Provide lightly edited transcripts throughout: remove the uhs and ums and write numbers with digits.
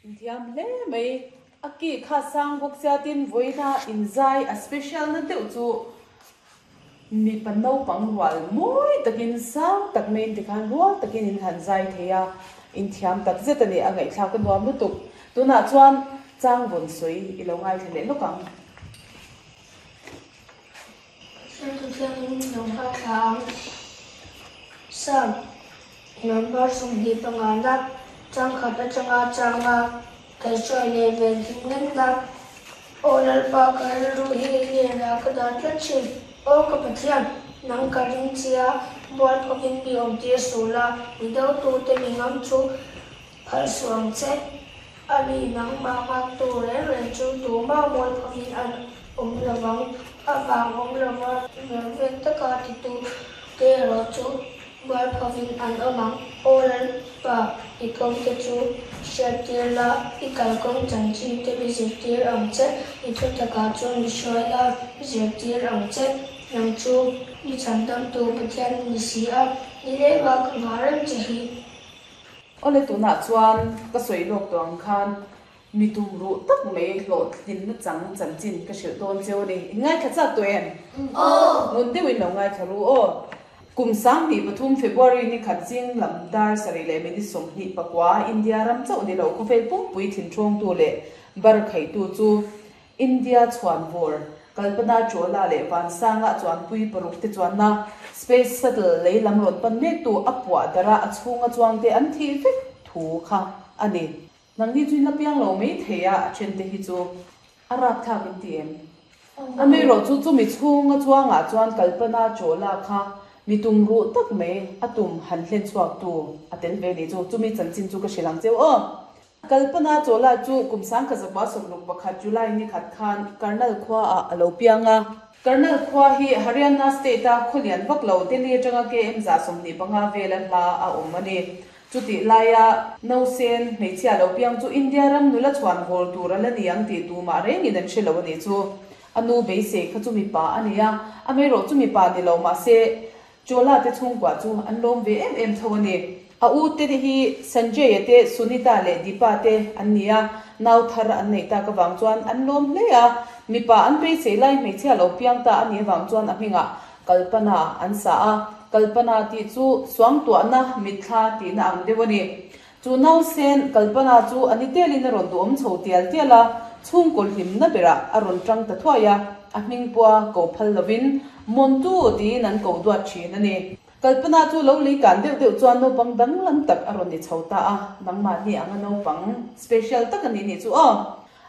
Inthiam hle mai. A ki kha sang bawk sia tin vawiina inzai a special na deuh chu mipa naupang rual mawi takin sang tak maiin tikhan rual takin in han zai thei a, inthiam tak zet a ni a ngaihthlak a nuam lutuk. Tunah chuan chang vawn sawi i lo ngaithla leh lawk ang. Hriattu thiangin lo ngaithla ang. Psalm number 25 na changkhat atanga changa kaihhruai leh venhim ngenna. Aw Lalpa ka rilru hi i hnenah ka dah tlat thin. Aw ka Pathian, nang ka ring che a, mualphakin mi awmtir suh la, mi dotute mi ngam chu Phal suh ang che. A ni, nangmah nghaktu reng reng chu tumah mualphakin an awm lo vang. A vang awm lova vervek taka titu te erawh chu mualphavin an awm ang. Aw Lalpa, i kawngte chu hriattir la, i kalkawng chanchin te mi zirtir ang che, i thutakah chuan mi hruai la, zirtir ang che. Nang chu mi chhandamtu Pathian ni si a, nilengah ka nghah reng che hi. Awle tunah chuan ka sawi lawk tawh ang khan mi tum ruh tak mai hlawhtlinna chang chanchin ka hrilh dawn cheu a ni. In ngaithla chak tawh em? Aw! Ngun deuhin lo ngaithla ru aw. Kum 2003 February ni khat zing lam dar sarih leh minute 29 India ram chauh ni lo khawvel pumpui thinṭhawngtu leh bar khaitu chu India chhuanvawr, Kalpana Chawla leh Vansanga chuanpui paruk te chuanna Space Shuttle lei lam rawn pan mektu a puah darh a, a chhunga chuangte an thih vek thu kha a ni. Nangni chu in la piang lo mai thei a, a then te hi chu a rapthlak in ti em? Amaherawh chu chumi chhunga chuangah chuan Kalpana Chawla kha mi tum ruh tak mai a tum han hlen chhuaktu a tel ve ni chu. Chumi chanchin chu ka hrilh ang cheu aw. Kalpana Chawla chu kum 1961 July ni khat khan Karnal khua ah a lo piang a. Karnal khua hi Haryana state a khaw lian vak lo Delhi atanga KM 25 vela hla a awm a ni. Chutih laia Nausen hmeichhia lo piang chu India ram nula chhuan vawl tur a la ni ang tih tumah rengin an hre lo a nih chu. A nu beisei kha chu mipa a ni a, amaherawh chu mipa ni lo mahse Chawla te chhungkua chu an lawm ve em em tho a ni. A u te hi Sanjay-a te, Sunita leh Deepa te an ni a, nau thar an neih tak avang chuan an lawm hle a. Mipa an beisei lai hmeichhia lo piang ta a nih avang chuan a hmingah Kalpana an sa a, Kalpana tih chu suangtuahna mitthla tihna ang deuh a ni. Chu nausen Kalpana chu a ni telin a rawn duhawm chho tial tial a, chhungkaw hlimna berah a rawn tang ta thuai a, a hming pua ko phal lovin Montu tiin an ko duat thin a ni. Kalpana chu lo lei kan deuh deuh chuan naupang danglam tak a rawn ni chho ta a, nangmahni anga naupang special tak a ni nih chu aw.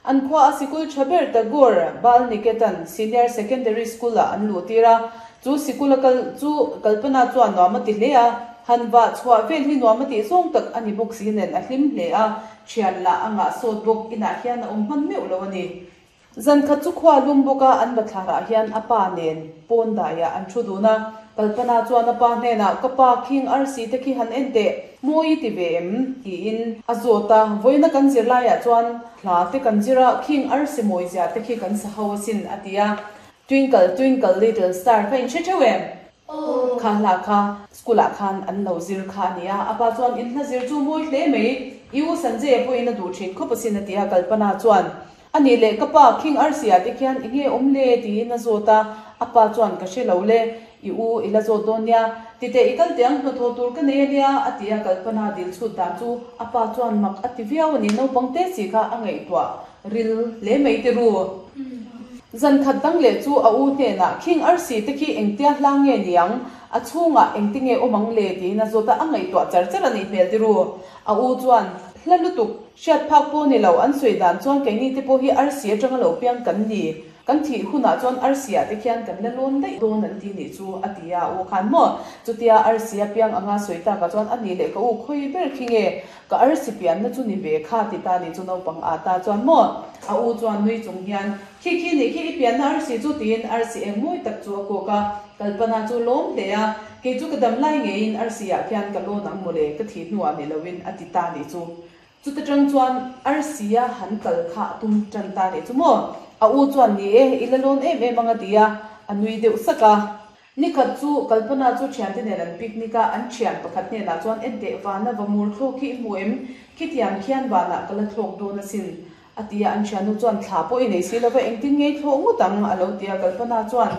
An khua a sikul tha ber Tagore Bal Niketan Senior Secondary School ah an luh tir a, chu sikul a kal chu Kalpana chuan nuam a ti hle a, han vah chhuah vel hi nuam a tih zawng tak a ni bawk si nen a hlim hle a, thian lah a ngah sawt bawk inah hian a awm hman meuh lo a ni. Zan khat chu khua lum bawk a, an bathlarah hian a pa nen pawn daiah an thu dun a, Kalpana chuan a pa hnenah, Ka pa, khing arsi te khi han en teh, mawi i ti ve em? tiin a zawt a, vawiina kan zirlaiah chuan hla te kan zir a, khing arsi mawi zia te khi kan sa ho asin, a ti a. Twinkle, twinkle little star kha in hre theuh em? Kha hla kha school ah khan an lo zir kha a ni a, a pa chuan in hla zir chu mawi hle mai, i u Sanjay-a pawhin a duh thin khawp asin, a ti a, Kalpana chuan A nih leh ka pa khing arsi-ah te khian i nge awm le? tiin a zawt a, a pa chuan ka hre lo le, i u i la zawt dawn nia, titeh i kal teh ang hnathawh tur ka nei a nia, a ti a, Kalpana dil chhut dan chu a pa chuan mak a ti viau a ni, naupang te si kha a ngaihtuah ril hle mai ti ru. Zan khat dang leh chu a u hnenah khing arsi te khi engtia hla nge niang, a chhungah engti nge awm ang le? tiin a zawt a, a ngaihtuah char char a nih hmel ti ru. A u chuan, Hla lutuk, hriat phak pawh ni lo, an sawi dan chuan keini te pawh hi arsi atanga lo piang kan ni, kan thih hunah chuan arsi ah te khian kan la lawn daih dawn an ti nih chu, a ti a, a u khan maw? Chutia arsi a piang anga sawi takah chuan a nih leh ka u khawi ber khi nge ka arsi pianna chu ni ve kha ti ta nih chu naupang ah ta chuan maw? A u chuan nui chung hian, Khi khi nih khi i pianna arsi chu tiin arsi eng mawi tak chu a kawk a, Kalpana chu lawm hle a, kei chu ka dam lai ngeiin arsi ah khian ka lawn ang mawle, ka thih hnuah ni loin a ti ta nih chu. Chuta tang chuan arsi a han kal kha a tum tan ta nih chu maw? A u chuan ni e, i la lawn em em ang a ti a, a nui deuh sak a. Nikhat chu Kalpana chu thiante nen an picnic a, an thian pakhat hnenah chuan Enteh vana va mur thlawk hi i hmu em? Khitiang khian vanah ka la thlawk dawn asin, a ti a. An thiannu chuan Thla pawh i nei si lo va, engtin nge i thlawh ngawt ang? a lo ti a. Kalpana chuan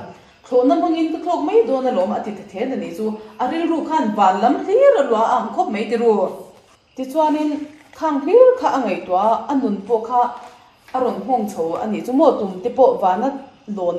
Thlawhna hmangin ka thlawk mai dawn alawm, a ti ta then a nih chu. A rilru khan van lam hlir a luah a ang khawp mai ti ru. Tichuanin khang hlir kha a ngaihtuah a, a nun pawh kha a rawn nghawng chho a nih chu maw tum te pawh vana lawn.